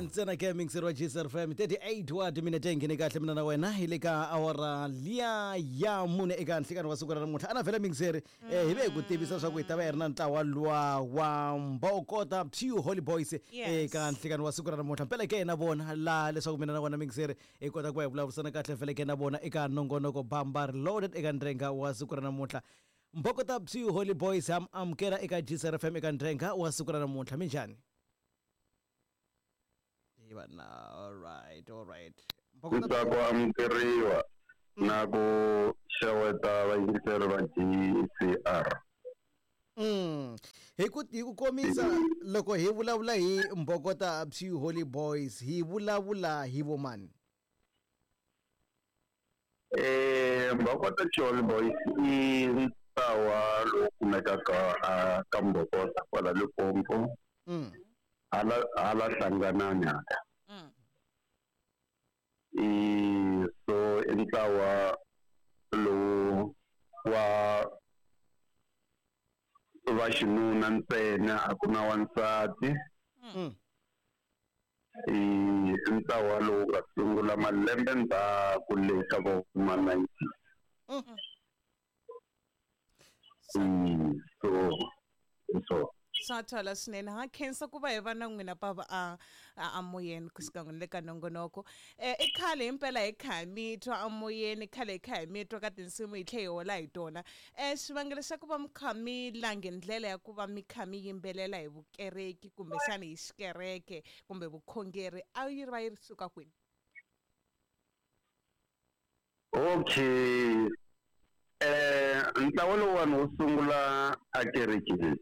Ntsena ke mixer wa GCR FM 38 wa timinete yi nghene kahle mina na wena hi le ka awara liya ya mune eka nhlikani wa siku ra namuntlha ana vhele mixeri hi ve hi ku tivisa swa ku hi ta va hi ri na ntlawa luwa wa mbokota Pure Holy Boys eka nhlikani wa siku ra namuntlha mpela ke na vona laha leswaku mina na wena mixeri hi kota ku va hi vulavurisana kahle vhele ke na vona eka nongonoko Bamba Reloaded eka ndrenga wa siku ra namuntlha Mbokota Pure Holy Boys ha amukela eka GCR FM eka ndrenga wa siku ra namuntlha minjhani Ivana, all right, all right. Ntsako amukeriwa na ku xeweta vayingiseri va GCR. Hi ku komisa loko hi vulavula hi Mbokota Pure Holy Boys hi vulavula hi vomani? Mbokota Pure Holy Boys i ntlawa lowu kumekaka a ka Mbokota kwala Limpopo. Hala Hlanganani hala. I so i ntlawa lowu wa va xinuna ntsena, a ku na wansati. I ntlawa lowu nga sungula malembe ndzhaku le ka vo ma 90. So Swa twala swinene. Ha khensa ku va hi va na n'wina pava a moyeni kusuka n'wina le ka nongonoko. I khale himpela hi kha hi mi twa amoyeni, khale hi kha hi mi twa ka tinsimu hi tlhe hi hola hi tona. Xivangelo xa ku va mi kha mi lange ndlela ya ku va mi kha mi yimbelela hi vukereki kumbexana hi xikereke kumbe vukhongeri a yi va yi ri suka kwini? Okay. Ntlawa lowuwani wu sungula a kerekeni.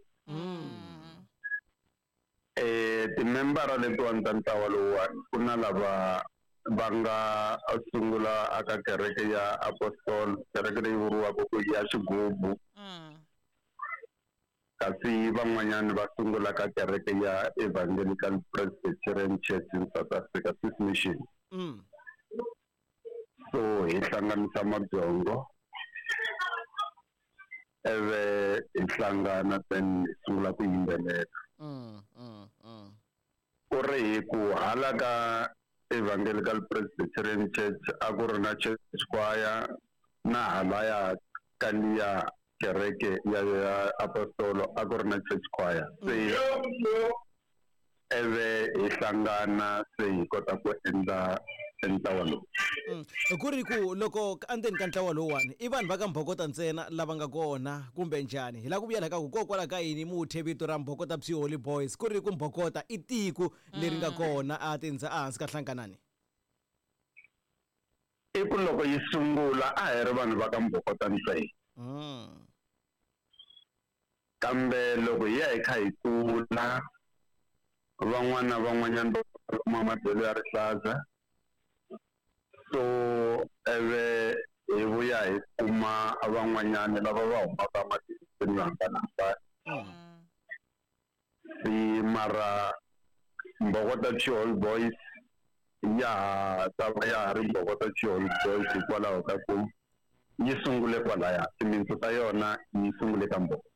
Timembara letiwani ta ntlawa lowuwani ku na lava va nga sungula aka kereke ya Apostol, kereke leyi vuriwaka ku ya Xigubu. Kasi van'wanyani va sungula ka kereke ya Evangelical Presbyterian Church in South Africa, Swiss Mission. So hi hlanganisa mabyongo eve hi hlangana then hi sungula ku yimbelela. Ku ri hi ku hala ka Evangelical Presbyterian Church a ku ri na church choir, na halaya ka liya kereke ya Apostolo a ku ri na church choir. Se eve hi hlangana se hi kota ku endla ntlawa lowu. Ku ri ku loko endzeni ka ntlawa lowuwani i vanhu va ka Mbokota ntsena lava nga kona kumbe njhani? Hi lava ku vuyela ka ku kokwalaho ka yini mi wu thye vito ra Mbokota Pure Holy Boys ku ri ku Mbokota i tiko leri nga kona a tindza ehansi ka Hlanganani? I ku loko yi sungula a hi ri vanhu va ka Mbokota ntsena. Kambe loko hi ya hi kha hi kula van'wana na van'wanyana va kuma madyelo ya rihlaza, so eve hi vuya hi kuma van'wanyana lava va humaka matikweni yo hambanahambana. Si mara Mbokota Pure Holy Boys ya ha ta va ya ha ri Mbokota Pure Holy Boys hikwalaho ka ku yi sungule kwalaya, timintsu ta yona yi sungule ka Mbokota.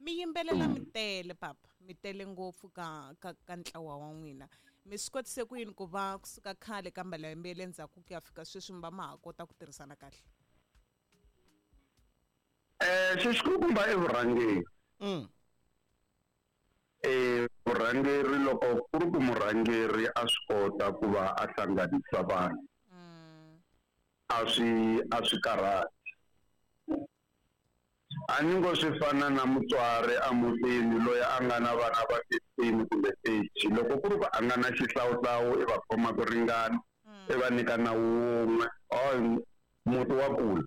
Mi yimbelela mi tele papa, mi tele ngopfu ka ntlawa wa n'wina. Mi swi kotise ku yini ku va kusuka khale ka malembe ya le ndzhaku ku ya fika sweswi mi va ma ha kota ku tirhisana kahle? Xixikulukumba i vurhangeri. Vurhangeri loko ku ri ku murhangeri a swi kota ku va a hlanganisa vanhu. A swi karhati. A ni ngo swi fana na mutswari emutini loyi a nga na vana va 15 kumbe 30, loko ku ri ku a nga na xihlawuhlawu i va khoma ku ringana, i va nyika nawu wun'we, muti wa kula.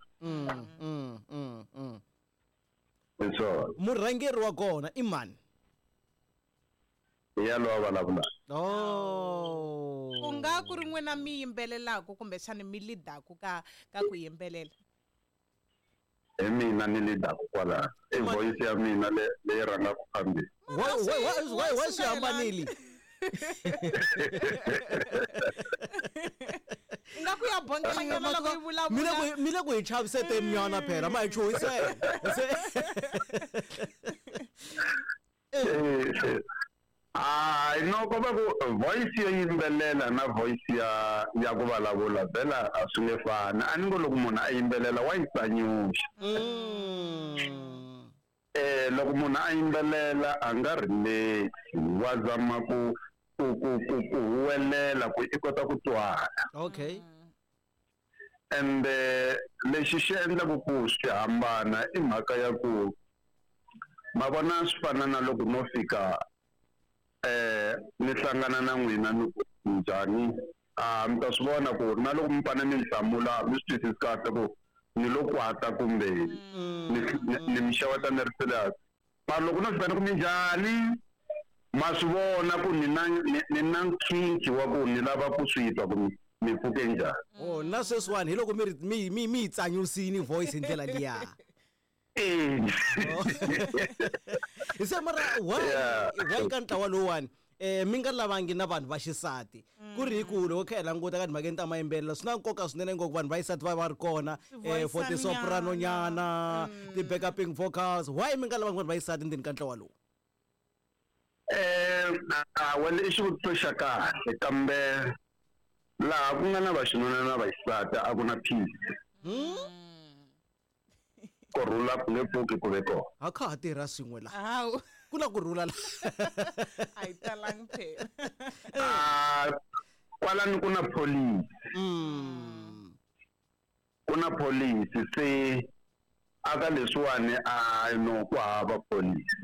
Hi swona. Murhangeri wa kona i mani? Hi yalowa vulavulaka. Ku nga ku ri n'wina mi yimbelelaka kumbexana mi lead-aku ka ku yimbelela? Hi mina ni lead-aku kwalano. I voice ya mina leyi rhangaka phambili. Why swi hambanile? Nga ku ya bongelanyana loko yi vulavula. Mi le ku hi chaviseteni nyana phela, ma hi chuhisela. Hayi, no, ko va ku voice yo yimbelela na voice ya ku vulavula vhela a swi nge fani. A ni ngo loko munhu a yimbelela wa yi tsanyuxa. Loko munhu a yimbelela a nga relax, wa zama ku huwelela ku i kota ku twala. Ende lexi xi endlaku ku swi hambana i mhaka ya ku ma vona swi fana na loko no fika ni hlangana na n'wina ni ku njhani, a mi ta swi vona ku na loko mi fane mi ni hlamula mi swi twisisi kahle ku ni lo kwata kumbe ni mi xeweta ni ri serious. Mara loko no fika ni ku minjhani, ma swi vona ku ni na nkhinkhi wa ku ni lava ku swi twa ku mi pfuke njhani. Oh, na sweswiwani hi loko mi ri mi yi tsanyusini voice hi ndlela liya. Eh. Se mara why why ka ntlawa lowuwani mi nga lavangi na vanhu va xisati, ku ri hi ku loko kha hi languta ka timhakeni ta mayimbelela swi na nkoka swinene ngopfu vanhu va xisati va va ri kona for ti-soprano nyana, ti-backuping vocals? Why mi nga lavangi vanhu va xisati ndzeni ka ntlawa lowu? Well, i xivutiso xa kahle, kambe laha ku nga na vaxinuna na vaxisati a ku na peace. Ku rhula ku nge pfuki ku ve kona. A kha ha tirha swin'we laha. Hawu. Ku na ku rhula la. A yi talangi phela. Ah, kwalani ku na police. Ku na police, se aka leswiwani a no ku hava police.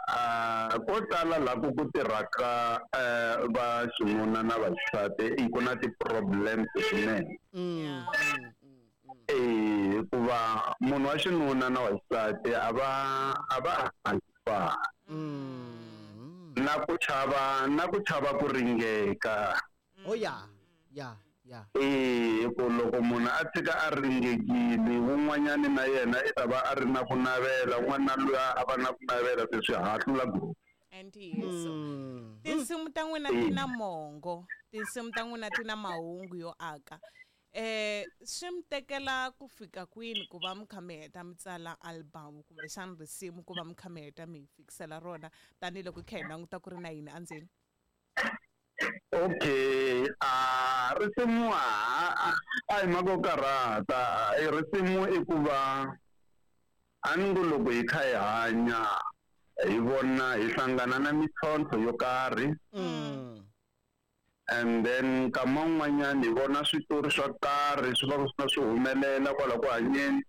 A ko tala laha ku tirhaka va xinuna na vaxisati i ku na ti-problems swinene. Hikuva munhu wa xinuna na wa xisati a va hanyi fani. Na ku chava ku ringeka. Oh ya. Ku loko munhu a tshika a ringekile, wun'wanyani na yena i ta va a ri na ku navela, un'wana na luya a va na ku navela, se swi hahlula group. Ntiyiso. Tinsimu ta n'wina ti na mongo, tinsimu ta n'wina ti na mahungu yo aka. Swi mi tekela ku fika kwini ku va mi kha mi heta mi tsala album kumbexana risimu, ku va mi kha mi heta mi hi fikisela rona, tanihiloko hi kha hi languta ku ri na yini endzeni? Okay, a risimu a hi mhaka yo karhata. Risimu i ku va a ni ngo loko hi kha hi hanya hi vona hi hlangana na mintlhontlho yo karhi, and then nkama wun'wanyani hi vona switori swa karhi swi va swi swi humelela kwala ku hanyeni.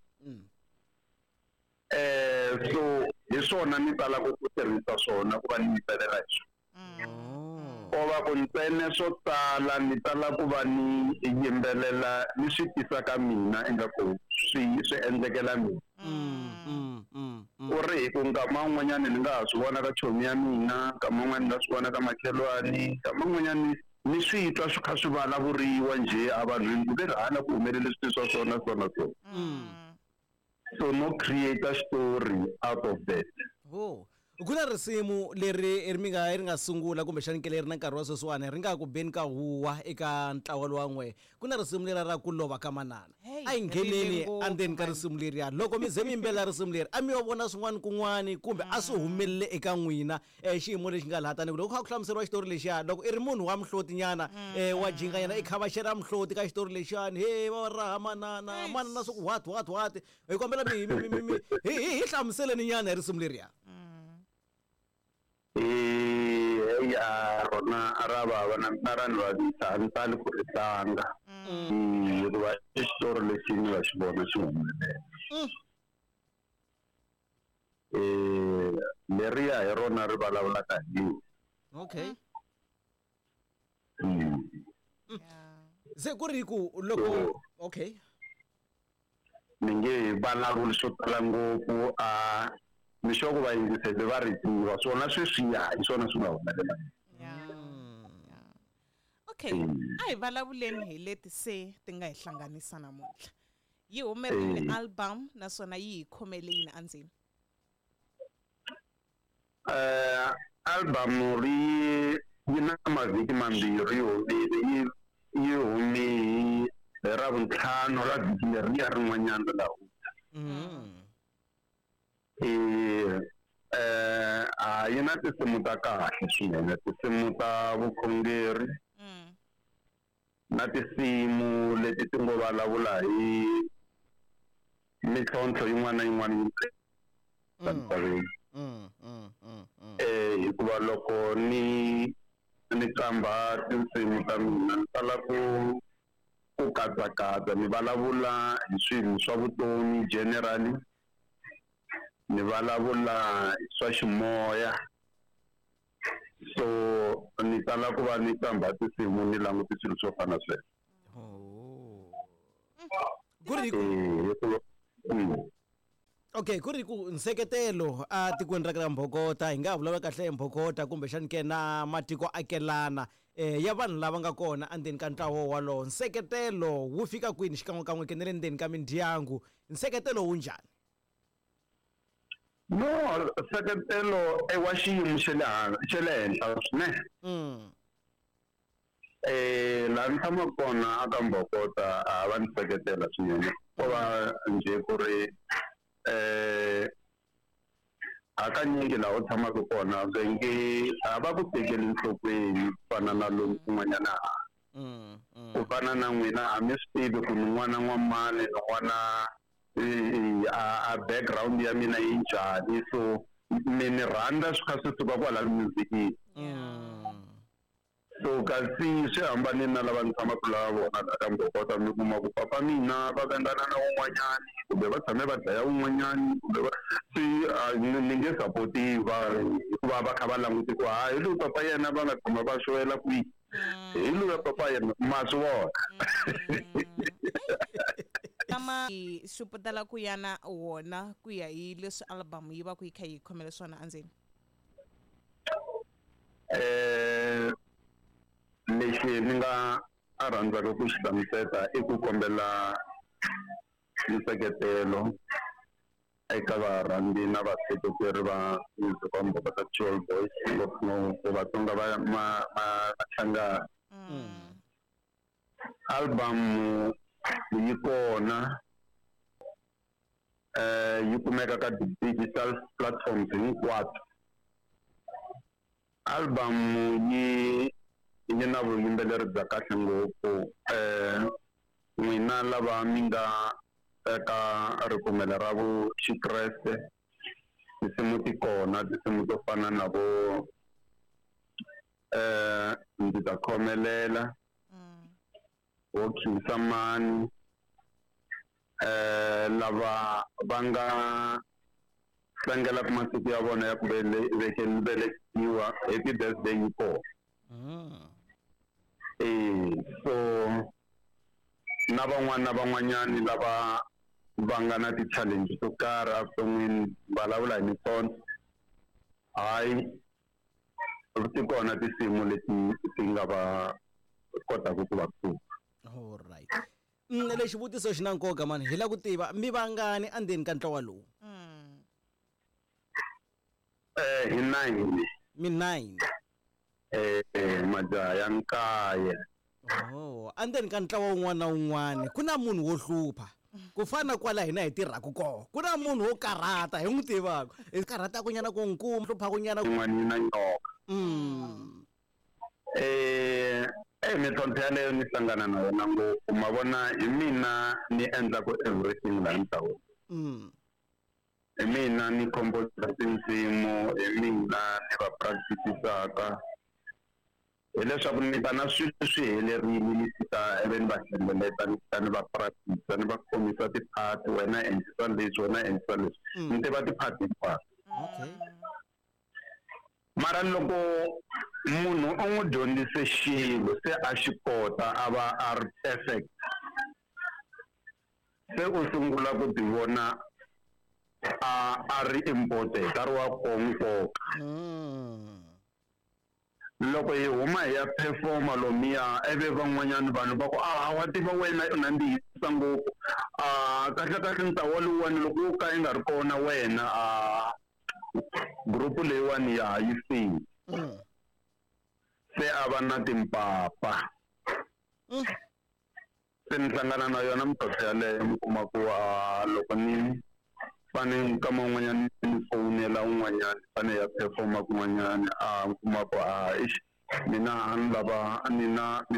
So hi swona ni talaka ku tirhisa swona ku va ni yimbelela hi swona. Oh. Ko va ku ntsena swo tala ni tala ku va ni yimbelela ni swi tisa ka mina ingaku swi endlekela mina. Ku ri hi ku nkama wun'wanyani ni nga ha swi vona ka chomi ya mina, nkama wun'wani ni nga swi vona ka makhelwani, nkama wun'wanyani ni swi twa swi kha swi vulavuriwa njhe a vanhwini ku ve ri hala ku humelele swilo swa swona so na so. So no create a story out of that. Oh. Ku na risimu leri ri mi nga ri nga sungula kumbexani ke leri na nkarhi wa sweswiwani ri nga ku beni ka huwa eka ntlawa lowa n'we, ku na risimu lera ra ku lova ka manana. Hey, A hi ngheneni ri le ngopfu, endzeni ka man. Risimu leriya, loko mi ze mi yimbelela risimu leri, a mi yo vona swin'wana kun'wani kumbe a swi humelele eka n'wina xiyimo lexi nga laha? Tanihi loko kha ku hlamuseriwa xitori lexiya, loko i ri munhu wa mihlotinyana wa jinganyana i khavaxela mihloti ka xitori lexiyani, he va raha manana manana swa ku what what what, hi kombela mi hi hlamuseleni nyana hi risimu leriya. Ya, rona ra vava na mina ra ni vavisa, a ni tali ku ri tlanga hikuva i xitori lexi ni nga xi vona xi humelela. Leriya hi rona ri vulavulaka hi Se ku ri ku loko, okay. Ni nge hi vulavuli swo tala ngopfu, a ni sure ku vayingiseli va ri tiva swona sweswiya, hi swona swi nga humelela. Okay, a hi vulavuleni hi leti se ti nga hi hlanganisa namuntlha. Yi humerile album, naswona yi hi khomele yini endzeni? Album ri yi na mavhiki 2 yi humile, yi hume hi Ravuntlhanu ra vhiki leriya rin'wanyana ra hundza. yi na tinsimu ta kahle swinene, tinsimu ta vukhongeri na tinsimu leti ti ngo vulavula hi mintlhontlho yin'wana na yin'wana yi misaveni. Hikuva loko ni qambha tinsimu ta mina ni tala ku katsakatsa, ni vulavula hi swilo swa vutomi generally, ni vulavula hi swa ximoya. So ni tala ku va ni qambha tinsimu ni languti swilo swo fana sweswo. Ku ri okay, ku ri ku nseketelo a tikweni ra ka Mbhokota, hi nga vulavula kahle hi Mbhokota kumbexani ke na matiko akelana ya vanhu lava nga kona endzeni ka ntlawa wolowo, nseketelo wu fika kwini xikan'wekan'we ke na le ndzeni ka mindyangu, nseketelo wu njhani? No, nseketelo i wa xiyimo xa le xa le henhla swinene. Laha ni tshamaka kona aka Mbhokota a va ni seketela swinene, ko va njhe ku ri hakanyingi laha u tshamaka kona va nge a va ku tekeli enhlokweni ku fana na lomu kun'wanyana. Ku fana na n'wina a mi swi tivi ku ni n'wana n'wamani, ni n'wana a background ya mina yi njhani, so mi ni rhandza swi kha swi suka kwala musicini. So kasi swi hambanile na lava ni tshamaka la vona la ka Mbhokota, mi kuma ku papa mina va vengana na wun'wanyani kumbe va tshame va dlaya wun'wanyani kumbe va swi ni nge sapotiwa hikuva va kha va languti ku hayi loyi papa yena va nga tshama va xowela kwihi, hi loyi papa yena ma swi vona. Kama swi putela ku ya na wona ku ya hi leswi album yi va ku yi kha yi khomele swona endzeni. Lexi ni nga a rhandzaka ku xi hlamusela i ku kombela nseketelo eka varhandzi na vaseketeri va music wa Mbhokota Chiol Boys, ngopfungopfu Vatsonga va Machangana. Album yi kona, yi kumeka ka digital platforms hinkwato. Album yi na vuyimbeleri bya kahle ngopfu. N'wina lava mi nga eka ripfumelo ra Vuxikreste, tinsimu ti kona, tinsimu to fana na vo ndzi ta khomelela, wo khinsa mani, lava va nga tlangelaka masiku ya vona ya ku velekiwa, happy birthday yi kona. So na van'wana na van'wanyani lava va nga na ti-challenge to karhi evuton'wini, vulavula hi mintlhontlho, hayi ti kona tinsimu leti ti nga va kotaka ku va pfuna. All right. Lexi xivutiso xi na nkoka mani, hi lava ku tiva mi vangani endzeni ka ntlawa lowu? Hi 9. Mi 9. Majaha ya 9. Oh, endzeni ka ntlawa wun'wana na wun'wana ku na munhu wo hlupha, ku fana kwala hina hi tirhaka kona, ku na munhu wo karhata hi n'wi tivaka, hi karhataka nyana ku nkuma, hluphaku nyana yin'wana na nyoka. Mintlhontlho yaleyo ni hlangana na yona ngopfu, ma vona hi mina ni endlaku everything laha ntlaweni. Hi mina ni composer tinsimu, hi mina ni va practice-aka, hileswaku ni ta na swilo swi helerile, ni fika ivi ni va hlengeleta, ni fika ni va practice, ni va khomisa ti-part, wena endlisa leswi, wena endlisa leswi, ni tiva ti-part hinkwato. Mara loko munhu u n'wi dyondzise xilo se a xi kota a va a ri perfect, se u sungula ku ti vona a ri important, a ri wa nkoka. Loko hi huma hi ya performa lomuya, ivi van'wanyana vanhu va ku, a wa tiva wena u nandzihisa ngopfu, kahle kahle ntlawa lowuwani loko wo ka yi nga ri kona wena, group leyiwani ya ha yi feli. Se a va na timpapa. Se ni hlangana na yona mintlhontlho yaleyo, mi kuma ku loko ni Fane nkama wun'wanyana ni fowunela un'wanyana fane ya performa kun'wanyana, a kuma ku a ix mina a ni lava ni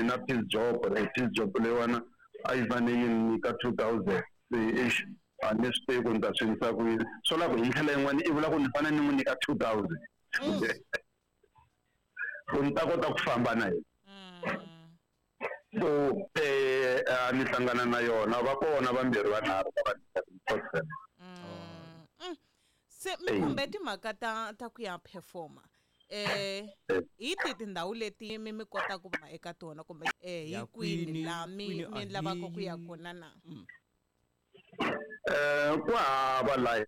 na piece job, piece job leyiwana a yi fane yi ni nyika 2000, se ix a ni swi tivi ku ni ta swi endlisa ku yini. Swo la ku hi ndlela yin'wana i vula ku ni fanele ni n'wi nyika 2000 ku ni ta kota ku famba na yena. So a ni hlangana na yona, va kona vambirhi vanharhu va va. Se mi khumbe timhaka ta ku ya performa, hi ti tindhawu leti mi kota ku va eka tona, kumbe hi kwini laha mi lavaka ku ya kona na? Ku hava laha.